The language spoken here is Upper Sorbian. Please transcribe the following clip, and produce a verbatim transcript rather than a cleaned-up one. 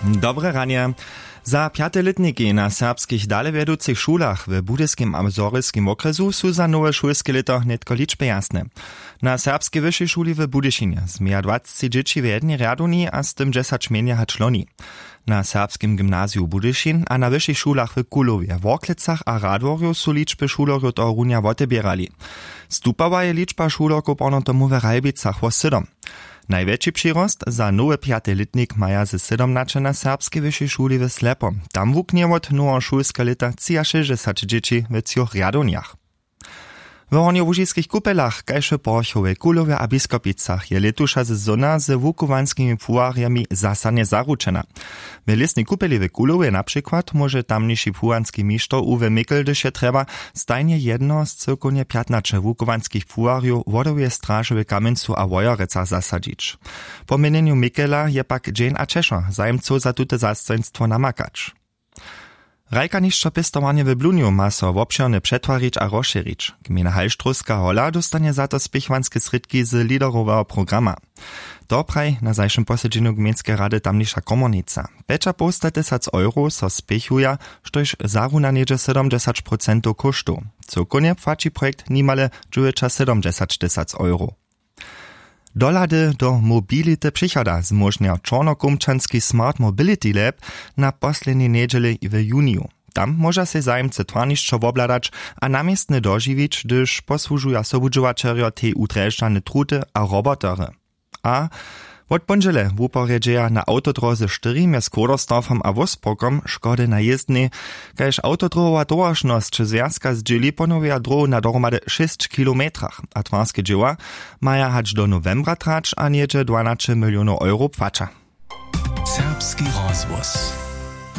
Dobre ranje. Za pjate lětniki na serbskich dalewjeducych šulach w budyskim a zhorjelskim wokrjesu su za nowe šulske lěto nětko ličby jasne. Na serbskej wyšej šuli w budyšinje změja dwacci dźěći w jednej rjadowni a z tym dźesać mjenje hač loni. Na serbskim gymnaziju budyšin a na wyšich šulach w kulowje worklecach a radworju su ličby šulerjow tohorunja woteběrali. Stupała je ličba šulerkow porno tomu w ralbicach wo sydom. Najwjetši přirost za nowy pjaty lětnik maja ze sydomnaće na serbskej wyšej šuli w slepo. Tam wuknje wot noweho šulskeho lěta třiašěsćdźesać dźěći w třoch rjadownjach. W hornjołužiskich kupelach kaž w porchowej kulowje a biskopicach je lětuša sezona ze wukuwanskimi płuwarjemi zasadnje zaručena. W lěsnej kupeli w kulowje na přikład móže tamniši płuwanski mišter uwe mikl hdyž je trjeba stajnje jedno z cyłkownje pjatnaće wukuwanskich płuwarjow wodoweje straže w kamjencu a wojerecach zasadźić. Po měnjenju mikela je pak dźeń a ćešo zajimcow za tute zastojnstwo namakać. Hrajkanišćo pěstowarnje w blunju ma so wobšěrnje přetwarić a rozšěrić. Gmejna halštrowska hola dóstanje za to spěchowanske srědki z lideroweho programa. To praji na zašim posedźenju gmejnskeje rady tamniša komornica. Pjećapołstatysac euro so spěchuja, štož zaruna něhdźe sydomdźesać procentow kóštow. Cyłkownje płaći projekt nimale dźewjećasydomdźesaćtysac euro. Dohlady do mobility přichoda zmóžnja čornokołmčanski smart mobility lab na poslednjej njedźeli w juniju. Tam móža sej zajimcy twarnišćo wobhladać a na městnje dožiwić hdyž posłužuja sobudźěłaćerjo tej udrježdźane truty a robotery. A wot póndźele wuporjedźeja na awtodróze štyri mjez kródersdorfom a wolfsburgom škody na jězdnej. Kaž awtodróhowa towaršnosć zwjazka zdźěli ponowja dróhu na dohromady šěsć kilometrach a twarske dźěła maja hač do nowembra trać a něhdźe dwanaće milionow euro płaća. Serbski rozhłos.